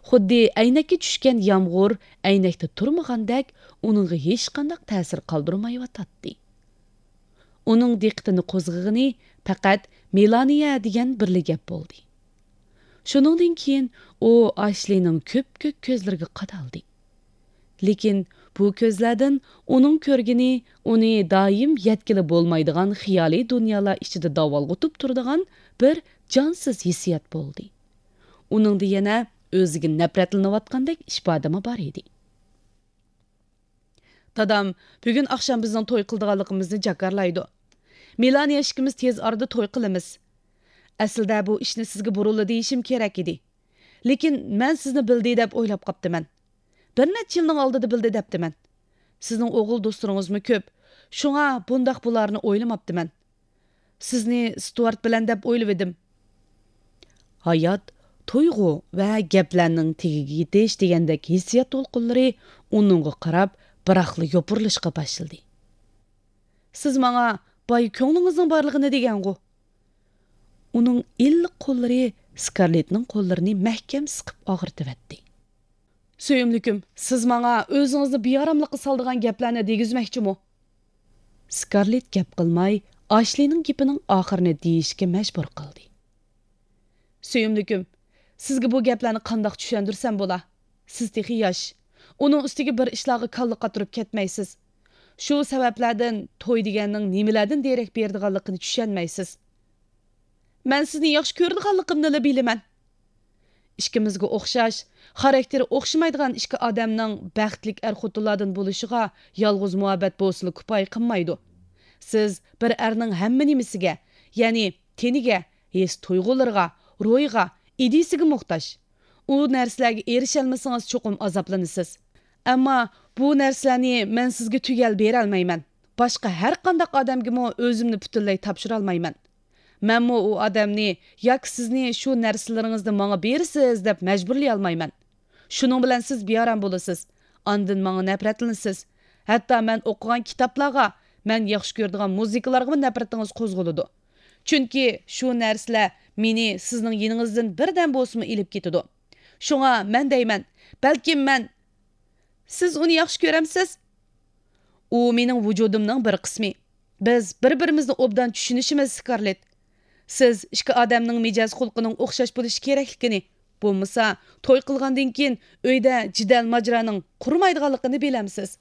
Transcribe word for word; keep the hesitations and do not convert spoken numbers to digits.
خۇددى ئەينەككە چۈشكەن يامغۇر ئەينەكتە تۇرمىغاندەك ئۇنىڭغا ھېچقانداق تەسىر قالدۇرمايۋاتاتتى. ئۇنىڭ دىققىتىنى قوزغىغىنى پەقەت مېلانىيە دېگەن بىرلا گەپ بولدى. شۇنىڭدىن كېيىن ئۇ ئاشلىنىڭ كۆپكۆك كۆزلىرىگە قادالدى. لېكىن بۇ كۆزلەردىن ئۇنىڭ كۆرگىنى ئۇنى دائىم يەتكىلى بولمايدىغان خىيالىي دۇنيالار ئىچىدە داۋالغۇتۇپ تۇرىدىغان بىر جانسىز ھېسسىيات بولدى. ئۇنىڭدا يەنە ئۆزىگە نەپرەتلىنىۋاتقاندەك ئىپادىمۇ بار ئىدى. دادام بۈگۈن ئاخشام بىزنىڭ توي قىلىدىغانلىقىمىزنى جاكارلايدۇ. مېلانىيە ئىككىمىز تېز ئارىدا توي قىلىمىز. ئەسلىدە بۇ ئىشنى سىزگە بۇرۇنلا دېيىشىم كېرەك ئىدى. لېكىن مەن سىزنى بىلدى دەپ ئويلاپ قاپتىمەن. بىر نەچچە يىلنىڭ ئالدىدا بىلدى دەپتىمەن. سىزنىڭ ئوغۇل دوستلىرىڭىزمۇ كۆپ. شۇڭا بۇنداق بولارنى ئويلىماپتىمەن. سىزنى ستۇئارت بىلەن دەپ ئويلىۋىدىم. ھايات، تۇيغۇ ۋە گەپلەرنىڭ تېگىگە يېتىش دېگەندەك ھېسسىيات دولقۇنلىرى ئۇنىڭغا قاراپ بىراقلا يوپۇرۇلۇشقا باشلىدى. سىز ماڭا باي كۆڭلىڭىزنىڭ بارلىقىنى دېگەنغۇ؟ ئۇنىڭ ئىللىق قوللىرى سكارلېتنىڭ قوللىرىنى مەھكەم سىقىپ ئاغرىتىۋەتتى. سۆيۈملۈكۈم، سىز ماڭا ئۆزىڭىزنى بىئاراملىققا سالىدىغان گەپلەرنى دېگۈزمەكچىمۇ؟ سكارلېت گەپ قىلماي، ئاشلىنىڭ گېپىنىڭ ئاخىرىنى دېيىشكە مەجبۇر قىلدى. سۆيۈملۈكۈم، سىزگە بۇ گەپلەرنى قانداق چۈشەندۈرسەم بولا؟ سىز تېخى ياش. ئۇنىڭ ئۈستىگە بىر ئىشلارغا كاللا قاتۇرۇپ كەتمەيسىز. شۇ سەۋەبلەردىن توي دېگەننىڭ نېمىلەردىن دېرەك بېرىدىغانلىقىنى چۈشەنمەيسىز. مەن سىزنى ياخشى كۆرىدىغانلىقىمنىلا بىلىمەن. ئىككىمىزگە ئوخشاش، خاراكتېرى ئوخشىمايدىغان ئىككى ئادەمنىڭ بەختلىك ئەر-خوتۇنلاردىن بولۇشىغا يالغۇز مۇھەببەت بولسىلا كۇپايە قىلمايدۇ. سىز بىر ئەرنىڭ ھەممە نېمىسىگە، يەنى تېنىگە، ھېس-تۇيغۇلىرىغا، روھىغا، ئىدىيىسىگە موھتاج. ئۇ نەرسىلەرگە ئېرىشەلمىسىڭىز چوقۇم ئازابلىنىسىز. ئەمما بۇ نەرسىلەرنى مەن سىزگە تۈگەل بېرەلمەيمەن. باشقا ھەر قانداق ئادەمگىمۇ ئۆزۈمنى پۈتۈنلەي تاپشۇرالمايمەن. مەنمۇ ئۇ ئادەمنى ياكى سىزنى شۇ نەرسىلىرىڭىزنى ماڭا بېرىسىز دەپ مەجبۇرلىيالمايمەن. شۇنىڭ بىلەن سىز بىئارام بولىسىز. ئاندىن ماڭا نەپرەتلىنىسىز. ھەتتا مەن ئوقۇغان كىتابلارغا، مەن ياخشى كۆرىدىغان مۇزىكىلارغىمۇ نەپرىتىڭىز قوزغىلىدۇ. چۈنكى شۇ نەرسىلەر مېنى سىزنىڭ يېنىڭىزدىن بىردەم بولسىمۇ ئېلىپ كېتىدۇ. شۇڭا مەن دەيمەن، بەلكىم مەن سىز ئۇنى ياخشى كۆرەمسىز؟ ئۇ مېنىڭ ۋۇجۇدۇمنىڭ بىر قىسمى. بىز بىر-بىرىمىزنى ئوبدان چۈشىنىشىمىز، سكارلېت. سىز ئىككى ئادەمنىڭ مىجەز-خۇلقىنىڭ ئوخشاش بولۇشى كېرەكلىكىنى، بولمىسا توي قىلغاندىن كېيىن ئۆيدە جېدەل-ماجىرانىڭ قۇرۇمايدىغانلىقىنى بىلەمسىز؟